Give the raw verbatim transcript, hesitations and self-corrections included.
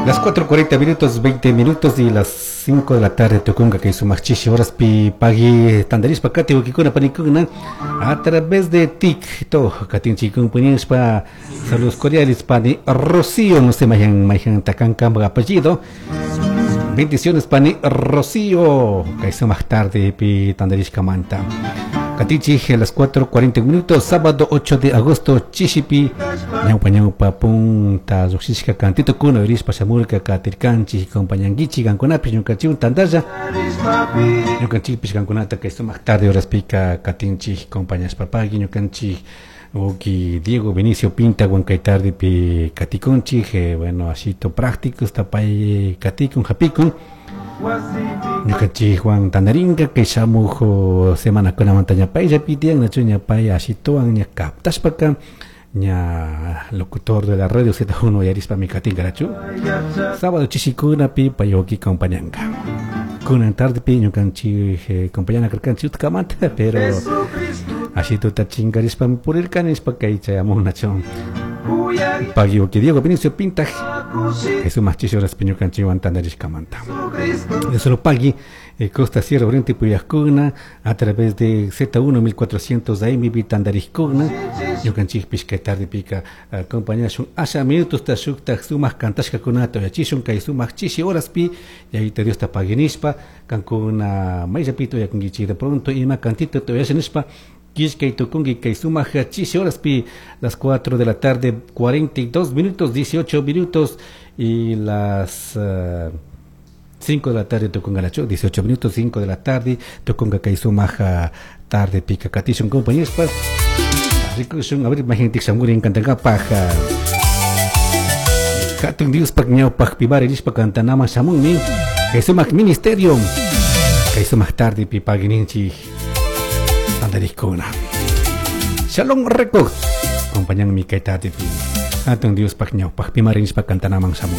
Las cuatro cuarenta minutos, veinte minutos y las cinco de la tarde tukunga kay sumak chishi horaspi pagui tandarishpa kati wawkikuna panikuna a través de TikTok katinchikun puñishpa. Saludos cordiales, pani Rocío, no sé mayhan mayhan takanka apellido. Bendiciones, pani Rocío, kay sumak tarde pi tandarishkamanta. Katinchik a las cuatro cuarenta minutos, sábado ocho de agosto, chishipi, ñaupa ñaupa punta, lluqshishka cantito kuna, irispa shamurka katirkanchik, compañanguichik, kankunapish ñukanchikwan tantalla, ñukanchikpish kankunata kay sumak tarde horaspika katinchik, compañashpa pagui ñukanchik wawki Diego Benicio Pinta kay tarde pi katikunchik, eh, bueno, ashito práctico, pay katikun, hapikun, ñukanchikwan tandarinka kay shamuj semanakunamanta ña payllapi tiyan nachu ña pay ashituwan ña kaptashpaka ña locutor de la radio Z uno yarispami katinkarachu sábado chishikunapi pay wawki compañanka. Kunan tardepi ñukanchik eh, compañana karkanchik utkamanta, pero ashituta chinkarishpami purirkani nishpa kay chayamun nachu. Pagui wawki Diego Benicio Pintaj kay sumak chishi horaspi ñukanchikwan tandarishkamanta. De solo pagui eh, Costa Sierra Oriente puyajkuna a través de Z uno mil cuatrocientos A M tandarishkuna ñukanchikpish kay tardepika acompañashun asha minutos ta shuktak sumak kantashkakunata uyachishun kay sumak chishi horaspi Yayito Diosta paguinishpa kankuna mayllapita uyakunkichik de pronto ima cantito uyasha nishpa killkay tukunki kay sumak chishi horaspi. Las cuatro de la tarde cuarenta y dos minutos, dieciocho minutos y las uh, cinco de la tarde tukunga nachu, dieciocho minutos, cinco de la tarde tukunga kay sumak tarde pika katishun compañeros rikushun a ver mayhantik shamurin kantankapaj hatun Diospaj ñawpajpi nishpa kantanaman shamunmi kay sumak ministerio kay sumak tarde pi paguininchik tantarikkuna. Shalom Record acompañanmi kay tarde pi hatun Diospaj ñawpajpi nishpa kantanaman shamun.